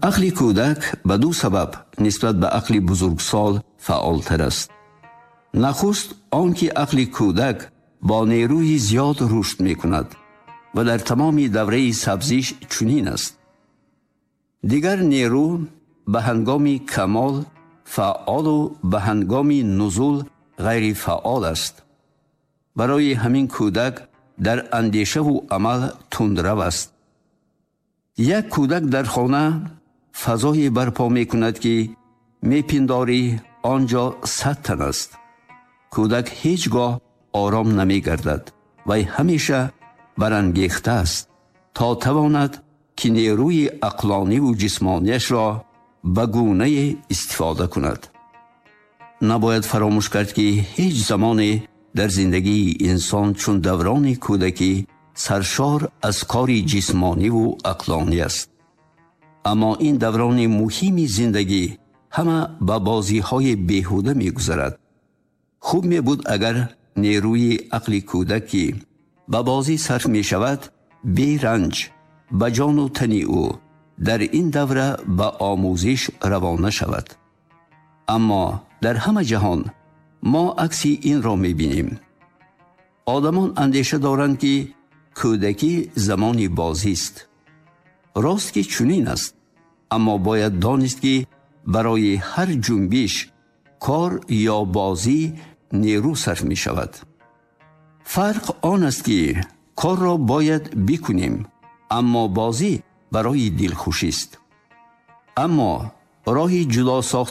Ақли кӯдак ба ду сабаб нисбат ба ақли бузургсол фаъолтар аст. Нахуст он ки ақли кӯдак бо нерӯи зиёд рушд мекунад ва дар тамоми давраи сабзиш чунин аст. Дигар нерӯ ба ҳангоми камол фаъолу ба ҳангоми нузул ғайрифаъол аст. Барои ҳамин кӯдак дар андешаву амал тундрав аст. Як кӯдак дар хона фазое барпо мекунад, ки мепиндорӣ он ҷо 100 тан аст. Кӯдак ҳеҷ гоҳ ором намегардад, вай ҳамеша барангехта аст, то тавонад ки нерӯи ақлониву ҷисмонияшро ба гунае истифода кунад. Набояд фаромӯш кард, ки ҳеҷ замоне дар зиндагии инсон чун даврони кӯдакӣ саршор аз кори ҷисмониву ақлонӣ аст. Аммо ин даврони муҳими зиндагӣ ҳама ба бозиҳои беҳуда мегузарад. Хуб мебуд, агар нерӯи ақли кӯдак, ки ба бозӣ сарф мешавад, беранҷ ба ҷону тани ӯ дар ин давра ба омӯзиш равона шавад. Аммо дар ҳама ҷаҳон мо акси инро мебинем. Одамон андеша доранд, ки кӯдакӣ замони бозист. Рост ки чунин аст, аммо бояд донист, ки барои ҳар ҷунбиш, кор ё бозӣ нерӯ сарф мешавад. Фарқ он аст, ки корро бояд бикунем, аммо бозӣ барои дилхушист. Аммо роҳи ҷудо сохтани